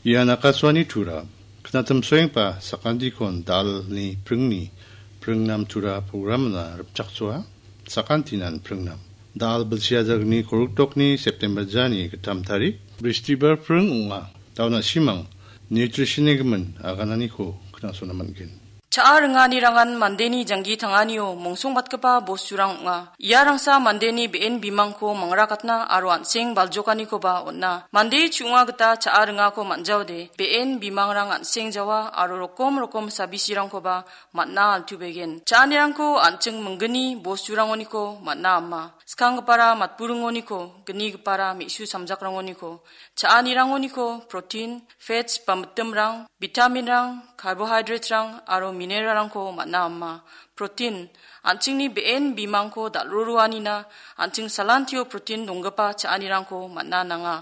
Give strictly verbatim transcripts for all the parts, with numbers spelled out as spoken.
Ian Akashvani Tura, knatim soengpa sakantikon dalni pringni pringnam Tura programna ripchaksoa, sakantinan pringnam. Dal bilsiajagni koruktokni September jani gittam tarik, Bristibar pring ong·a. Dauna simang, nutrition-ni gimin agananiko knasona man·gen. Cha·a ringanirangan mandeni janggi tanganio mongsongbatgipa bosturang ong·a. Iarangsa mandeni be·en bimangko mangrakatna aro an·seng baljokanikoba on·a. Mande chu·onga gita cha·a ringako man·jaode, be·en bimangrang an·seng jawa aro rokom rokom sabisirangkoba man·a altubegen. Cha·anirangko an·ching minggni bosturangoniko man·a ama. Skanggipara matburingoniko, gnigipara me·su samjakrangoniko, cha·anirangoniko protein, fats ba mitimrang, vitaminrang, carbohydraterang aro mineralrangko man·a ama. Protein, an·chingni be·en bimangko dal·roroanina an·ching salantio protein donggipa cha·anirangko man·a nanga.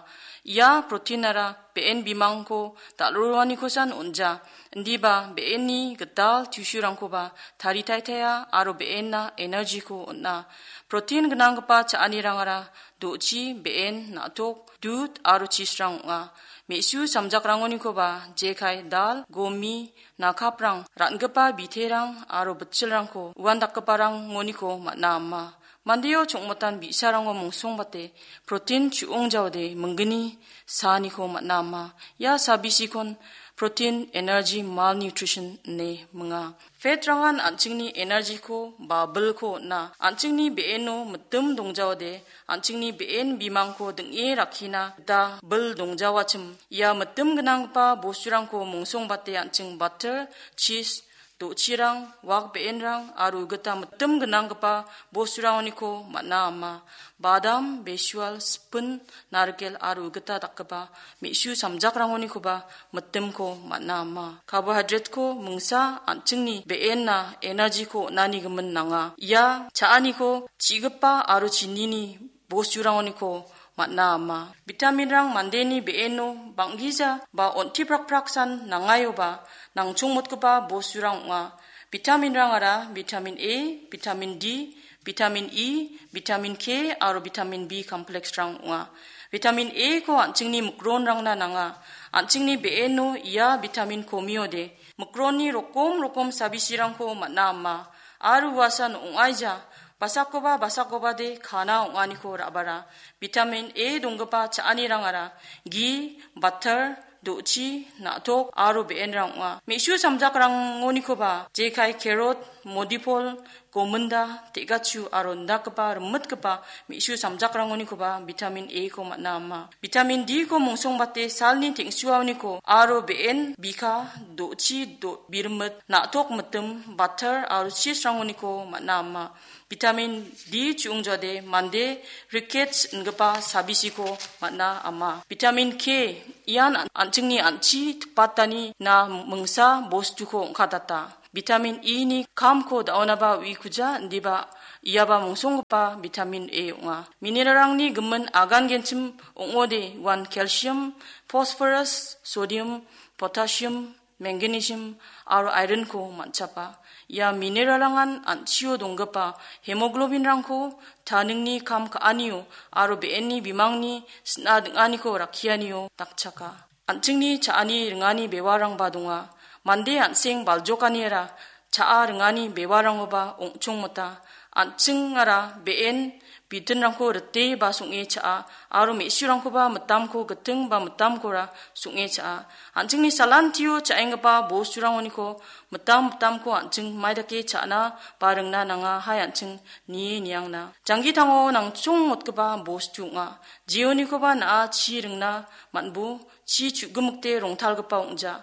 Ia proteinara be·en bimangko dal·roroanikosan on·ja. Indiba be·enni gital tissuerangkoba taritaitaia aro be·enna energyko on·a. Protein gnanggipa cha·anirangara do·chi, be·en, na·tok, dud aro chisrang ong·a. Me·su samjakrangonikoba jekai dal, gomi, nakaprang, ran·gipa biterang aro bitchilrangko uandakgiparangoniko man·a ama. Mandeo chongmotan bi·sarango mongsongbate protein chu·ong jaode minggni saaniko man·a ama. Ia sabisikon protein energy malnutrition ine minga. Fat-rangan an·chingni energy-ko ba bilko on·a. An·chingni be·eno mitim dongjaode, an·chingni be·en bimangko ding·e rakkina gita bil dongjawachim. Ia mitim gnanggipa bosturangko mongsongbate an·ching butter, cheese, do·chirang, wak be·enrang aro gita mitim gnanggipa bosturangoniko man·a ama. Badam, besual, sipin, narikel aro gita dakgipa me·su samjakrangonikoba mitimko man·a ama. Carbohydrate-ko mingsa an·chingni be·enna energy-ko on·ani gimin nanga. Ia cha·aniko chi·gipa aro chinini bosturangoniko man·a ama. Vitaminrang mandeni be·eno bang·gija ba on·tiprakpraksan nangaioba nangchongmotgipa bosturang ong·a. Vitaminrangara vitamin A, vitamin D, vitamin E, vitamin K aro vitamin B complexrang ong·a. Vitamin A-ko an·chingni mikronrangna nanga. An·chingni be·eno ia vitamin komiode mikronni rokom rokom sabisirangko man·a ama. Aro uasan ong·aija, basakkoba basakobade kana ong·aniko ra·bara. Vitamin A donggipa cha·anirangara gi, butter, do·chi, na·tok aro be·enrang ong·a. Me·su samjakrangonikoba jekai carrot, modipol, gominda, te·gachu aro indakgipa rimitgipa me·su samjakrangonikoba vitamin A-ko man·a ama. Vitamin D-ko mongsongbate salni teng·suaoniko aro be·en, bika, do·chi, do-, birimit, na·tok mitim, butter aro cheese-rangoniko man·a ama. Vitamin D chu·ongjade mande rickets ingipa sabisiko man·a ama. Vitamin K ian an-, an·chingni an·chi tipatani na mingsa bostuko ong·katata. Vitamin E-ni kamko da·onaba uikuja, indiba iaba mongsonggipa vitamin A ong·a. Mineralrangni gimin agangenchim ong·ode uan calcium, phosphorus, sodium, potassium, magnesium aro iron-ko man·chapa. Ia mineralrangan an·chio donggipa hemoglobin-rangko taningni kam ka·anio aro be·enni bimangni sina ding·aniko rakkianio dakchaka. An·chingni cha·ani ringani bewarangba donga. Mande an·seng baljokaniara cha·a ringani bewarangoba ong·chongmota. An·chingara be·en bitinrangko rite ba song·e cha·a, aro me·surangkoba mitamko giting ba mitamkora song·e cha·a. An·chingni salantio cha·enggipa bosturangoniko mitam mitamko an·ching maidake cha·na ba ringna nanga, hai an·ching nie niangna. Janggitango nangchongmotgipa bostu ong·a. Jeonikoba na·a chi ringna man·bo, chi chu·gimikde rongtalgipa ong·ja.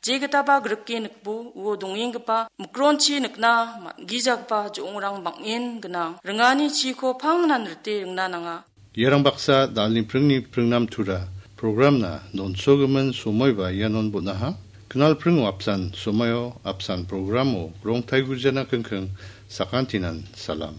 Jegitaba grike nikbo, uo dongenggipa mikronchi nikna man·gijagipa jo·ongrang bang·en gnang. Ringani chiko pangnan rite ringna nanga. Iarang baksa dalni pringni pringnam tura programna donsogimin somoiba ianon bon·aha. Knal pringo apsan somoio apsan programo rongtaigujana kingking sakantinan salam.